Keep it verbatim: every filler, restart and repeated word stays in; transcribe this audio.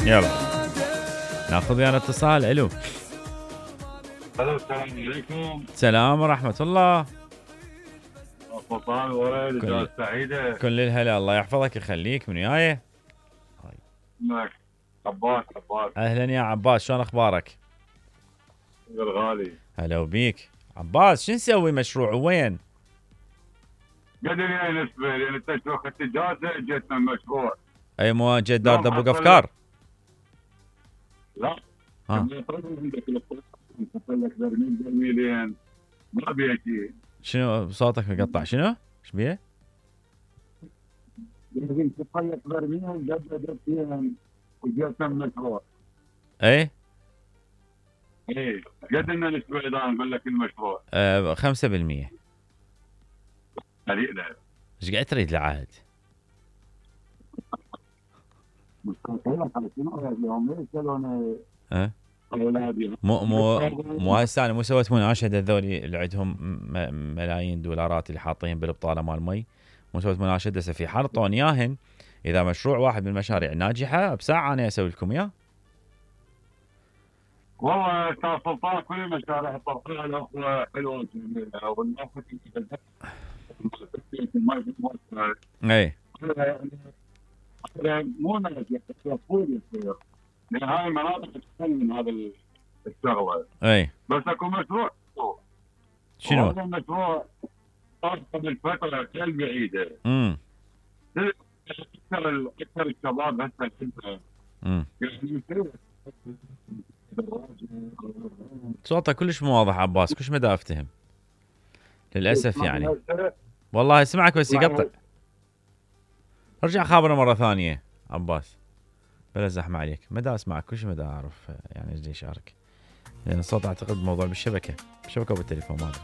يلا ناخذ ويانا اتصال. الو الو السلام عليكم. سلام ورحمة الله. فطان ورد كل- اجازة سعيدة. كل الهلا، الله يحفظك يخليك. من وياي؟ معك عباس. عباس اهلا يا عباس، شلون اخبارك؟ الغالي. هلا وبيك عباس. شو نسوي مشروع وين؟ قدر يعني نسبة لان انت شو اخذت اجازة جتنا المشروع. اي مو جد دار لا، دبوق ما افكار؟ لا ها لما يطلع عندك الفلوس، يحط لك برميل برميلين ما بيجي. شنو صوتك مقطع؟ شنو؟ ايش بيه؟ لازم تحط لك برميل قبل دقيقتين وجتنا المشروع. اي ايه قد لنا نسبة اذا نقول لك المشروع. آه خمسة بالمية. قليلة. ايش قاعد تريد العهد؟ مستقيلة على شنو اليوم ليش يسالون أه؟ اولادي؟ مو مو مو هسه انا مو سويت مناشده هذولي اللي عندهم م- ملايين دولارات اللي حاطين بالبطاله مال مي. مو سويت مناشده هسه في حال طون اياهن. اذا مشروع واحد من المشاريع ناجحه بساعه انا اسوي لكم اياه. والله استاذ سلطان كل المشاريع الطرفيه الاخرى حلوه جميله والناس اي يعني مو ناجح المفروض يصير لان هاي المناطق تحل من هذا الشغله. اي بس اكو مشروع شنو؟ هذا المشروع صار قبل فتره كثير بعيده. امم اكثر اكثر الشباب هسه كلها امم يعني يصير صوتك كلش مو واضح عباس، كلش مدى افتهم للاسف يعني. والله اسمعك بس يقطع. ارجع خابره مره ثانيه عباس بلا زحمه عليك. مدى اسمعك كلش مدى اعرف يعني ايش اشارك لان الصوت اعتقد موضوع بالشبكه بالشبكه وبالتليفون ما ادري.